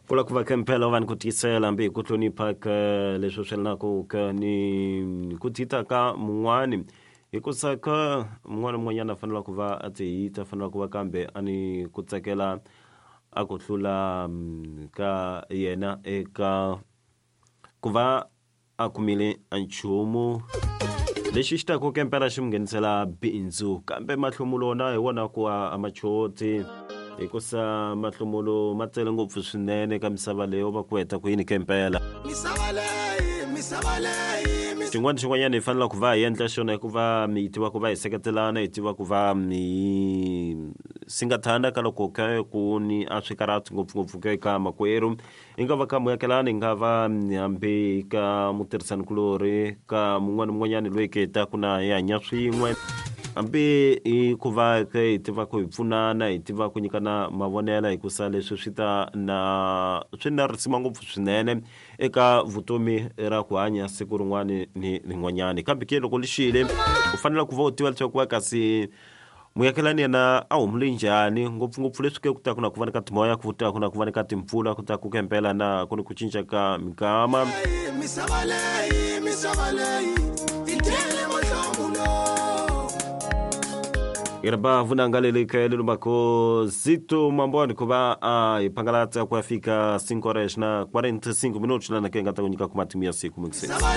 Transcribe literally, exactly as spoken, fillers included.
Kula ku va ke mpela va ni ku tiyisela hambi hi ku hlonipha ka leswi swi yelanaku ka ni ku tita ka mun'wani, hikusa ka mun'wana na mun'wanyana a fanele ku va a tihita, fanele ku va kambe a ni ku tsakela a ku hlula ka yena eka ku va a kumile a nchumu lexi xi taku ke mpela xi mu nghenisela bindzu. Kambe mahlomulo wona hi wona ku a machoti, hikusa mahlomulo ma tele ngopfu swinene ka misava leyi va ku heta ku yini ke mpela. Misava leyi, misava leyi. Xin'wana xin'wanyana hi fanele ku va hi endla xona i ku va hi tiva ku va hi seketelana, hi tiva ku va hi singathana ka loko ka ku ni a swikarhati ngopfungopfu ke ka makwerhu, i nga va ka muakelani, i nga va hambi ka mutirhisanikulorhi, ka mun'wana na mun'wanyani loyi ke hi taku na hi hanya swin'we, hambi hi ku va ke hi tiva ku hi pfunana, hi tiva ku nyikana mavonelo, hikusa leswi swi ta na swi na risima ngopfu swinene eka vutomi ra ku hanya siku rin'wani ni rin'wanyani. Kambe ke loko lixile u fanele ku va u tiva leswaku va kasi muakelani yena a humule njhani, ngopfungopfu leswi ke ku ta ku na ku va ni ka timoya, ku ta ku na ku va ni ka timpfula, ku ta ku ke mpela na ku ni ku cinca ka minkama. Misava leyi, misava leyi, yi tele mahlomulo. Irba vunanga leli ka lelo mako Zito Mamboni ku va a hi phangalatsa ku ya fika cinco horas na quarenta e cinco minutos lana ke nga ta ku nyika ku matimu ya siku mixi.